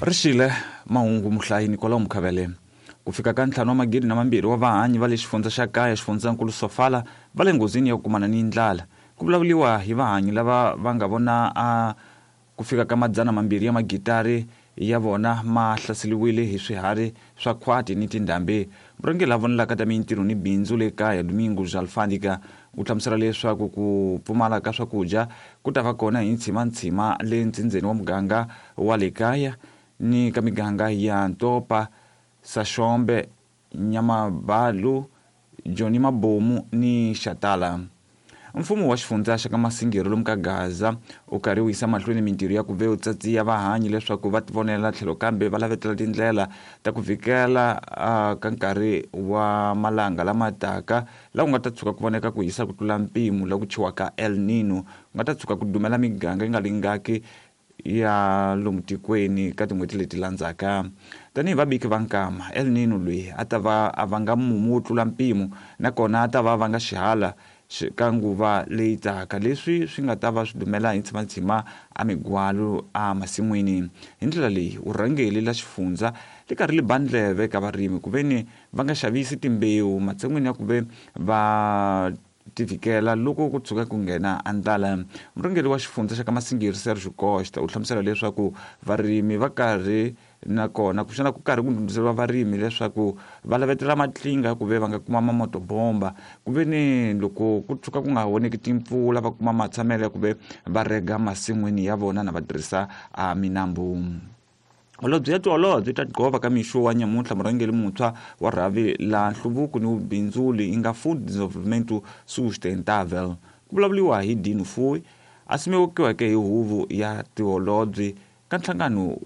Rixile mahungu muhlayi Nicolau Mukhavele. Ku fika ka ntlhanu wa magidi na mambirhi wa vahanyi va le xifundza xa kaya xifundzankulu Sofala va le nghozini ya ku kumana ni ndlala. Ku vulavuriwa hi vahanyi lava va nga vona a ku fika ka 200 ya magitari ya vona ma hlaseriwile hi swiharhi swa khwati ni tindhambi. Murhangeri la vonelaka ta mintirho ni bindzu le kaya Domingos Alfândega u hlamusela leswaku ku pfumala ka swakudya ku ta va kona hi ntshima-ntshima le ntsindzeni wa muganga wa le kaya ni ka miganga ya Ntopa, Saxombe, Nyamabalu, Joni Mabomu ni Xatala. Mfumo wa xifundza xa ka Masingiro lomu ka Gaza u karhi wu yisa mahlweni mintirho ya ku ve u tsatsiya vahanyi leswaku va tivonela tlhelo kambe va lavetela tindlela ta ku vhikela ka nkarhi wa malanga lama taka la ku nga ta tshuka ku voneka ku hisa ku tlula mpimo la ku thyiwaka El Nino ku nga ta tshuka ku dumela miganga yi nga lingaki ya lomu tikweni ka tin'hweti leti landzaka. Tanihi vabiki va nkama, El Nino loyi a ta va a vanga mumu wo tlula mpimo nakona a ta va a vanga xihala ka nguva leyi taka, leswi swi nga ta va swi dumela hi ntshima-ntshima a migwalu a masin'wini. Hi ndlela leyi, vurhangeli la xifundza li karhi li ba ndleve ka varimi ku veni va nga xavisi timbewu matshan'wini ya ku ve va tivhikela loko ku tshuka ku nghena a ndlala. Murhangeri wa xifundza xa ka Masingiri Sergio Costa u hlamusela leswaku varimi va karhi nakona kumbexana ku karhi ku ndhundhuzeriwa varimi leswaku va lavetela matlinga ku ve va nga kuma mamotobomba ku ve ni loko ku tshuka ku nga voneki timpfula va kuma matshamelo ya ku ve va rega masin'wini ya vona na va tirhisa a minambu. Holobye ya tiholobye ta Gqova ka mixo wa nyamuntlha murhangeri muntshwa wa rhavi la nhluvuko ni vubindzuli yi nga Food Desenvolvimento Sustentável ku vulavuriwa hi Dino Fuyi a simekiweke hi huvo ya tiholobye ka nhlangano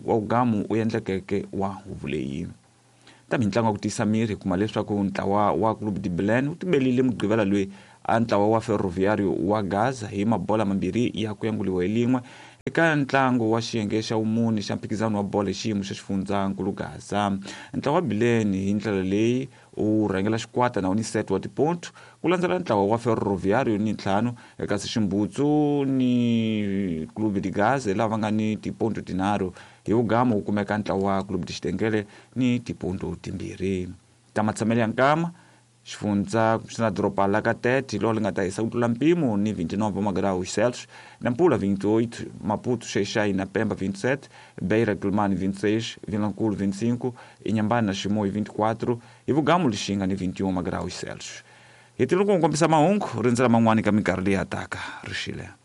wa wugamu wu endlekeke wa huvo leyi. Ta mintlangu ya ku tiyisa miri hi kuma leswaku ntlawa wa Clube de Belém wu tibelile Mugqivela loyi a ntlawa wa Ferroviário wa Gaza hi mabola mambirhi ya ku yanguliwa hi lin'we eka ntlangu wa xiyenge xa vumune xa mphikizano wa bolo hi xiyimo xa xifundzankulu Gaza. Ntlawa wa Belém hi ndlela leyi u rhangela xikwata na wu ni set wa tipontu ku landzela ntlawa wa Ferroviário ni ntlhanu kasi Ximbutsu ni Clube de Gaza lava va nga ni tipontu tinharhu. Hi vugamu wu kumeka ntlawa wa Clube de Xitengele ni tipontu timbirhi ta matshamelo ya nkama. Xifundza kumbexana doroba la ka Tete hi lona li nga ta hisa ku tlula mpimo ni 29 wa magraus Celsius, Nampula 28, Maputo, Xai-Xai na Pemba 27, Beira, Quelimane 26, Vilankulo 25, Inhambane na Chimoio 24, hi vugamu Lixinga ni 21 magraus Celsius. Hi tile ku kombisa mahungu, rindzela man'wana ka minkarhi leyi ya taka. Rixile.